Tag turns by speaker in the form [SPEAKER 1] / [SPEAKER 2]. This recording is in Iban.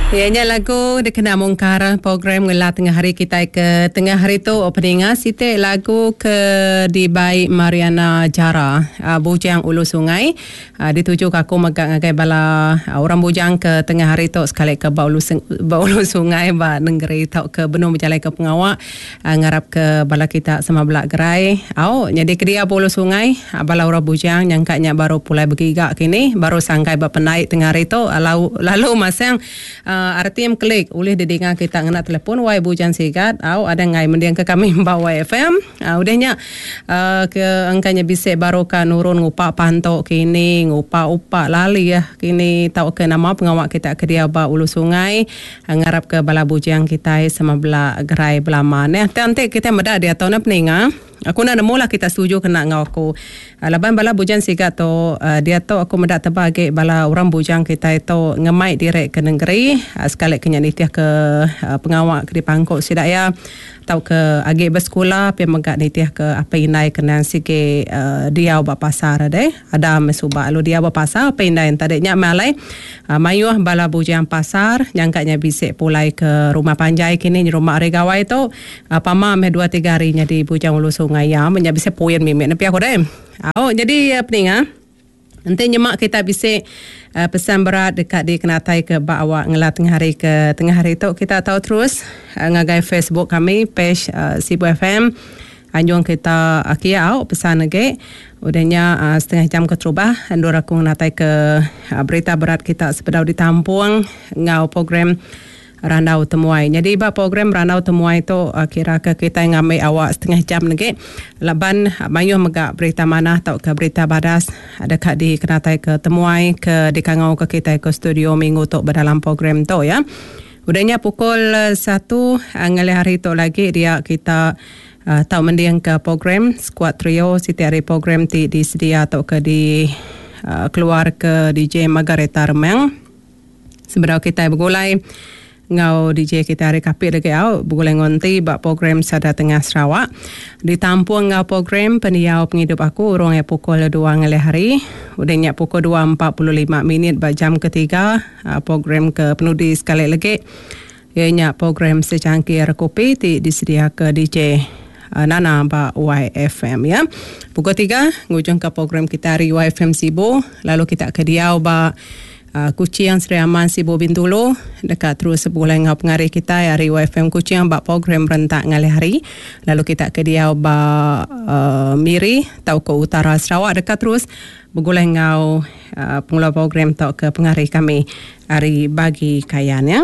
[SPEAKER 1] Iya nya lagu dikena mungkar program ngela tengah hari kitai ke tengah hari tu peninga siti lagu ke dibai Mariana Jara Bujang Ulu Sungai dituju ka aku mega ngagai bala orang bujang ke tengah hari tu sekali ke ba ulu ba ulu sungai ba nengeri tauka benung bejalaika pengawa Ngarap ke bala kita sama bela gerai. Au, nyadi ke dia ba ulu sungai, bala orang bujang nyangka nya baru pulai begiga kini, baru sangkai ba pendai tengah hari tu lalu lalu masang RTM klik ulih didinga kita ngena telefon wai bujang sigat. Au, ada enggai mending ke kami ba Wai FM. Udah nya ke engka nya bisi baru ka nurun ngupa pantu kini, ngupa upa lalih kini tauka nama pengawa kita ke dia ba ulu sungai. Ngarap ke bala bujang kitai sama bela gerai belama neh. Tang enti kitai meda diatu neh peninga, aku enda nemu lah kita setuju kena enggau aku. Laban bala bujang siga tu diatu aku meda teba agi bala orang bujang kitai tu ngemai diri ke nengeri sekali ke nya nitih ke pengawa ke dipangku sida iya. Tauka agi besekula pia mega nitih ke apai indai ke endang sigi diau ba pasar deh. Ada meh suba lalu diau ba pasar apai indai enta deh. Nya meh alai mayuh bala bujang pasar nyangka nya bisi pulai ke rumah panjai kini nyerumba hari gawai tu. Pama meh dua tiga hari nyadi bujang ulu sungai iya meh nya bisi puin mimit ne pia ku deh. Au nyadi peninga. Enti nyema kita bisi pesan berat deka dikenataika ba awak ngela tengah hari ke tengah hari tu kita tau terus ngagai Facebook kami page Sibu FM anjung kita kia au pesan agi udah nya setengah jam keterubah endur aku ngenataika berita berat kita sebedau ditampung enggau program Randau Temuai. Nyadi ba program Randau Temuai tu kira ke kitai ngambi awak setengah jam legi laban mayuh mega berita manah tauka berita badas deka dikenataika temuai ke dikangauka kitai ke studio minggu tu ba dalam program tu ya. Udah nya pukul satu ngalih hari tu lagi dia kita tau mendingka program Skuad Trio siti ari program ti disedia tauka dikeluarka DJ Margareta Remang. Sebedau kitai begulai enggau DJ kitai ari Kapit lagi au begulai enggau enti ba program Sada Tengah Sarawak. Ditampung enggau program Pendiau Pengidup Aku urung iya pukul dua ngalih hari. Udah nya pukul 2.45 minit ba jam ketiga program ke penudi sekali lagi iya nya program Secangkir Kopi ti disediaka DJ Nana ba YFM ya. Pukul tiga ngujungka program kitai ari YFM Sibu lalu kita ke diau ba Kuching, Sri Aman, Sibu, Bintulu deka terus begulai enggau pengari kitai ari YFM Kuching ba program Rentak Ngalih Hari. Lalu kita ke diau ba Miri tauka Utara Sarawak deka terus begulai enggau pengeluar program tauka pengari kami ari Bagi Kayan ya.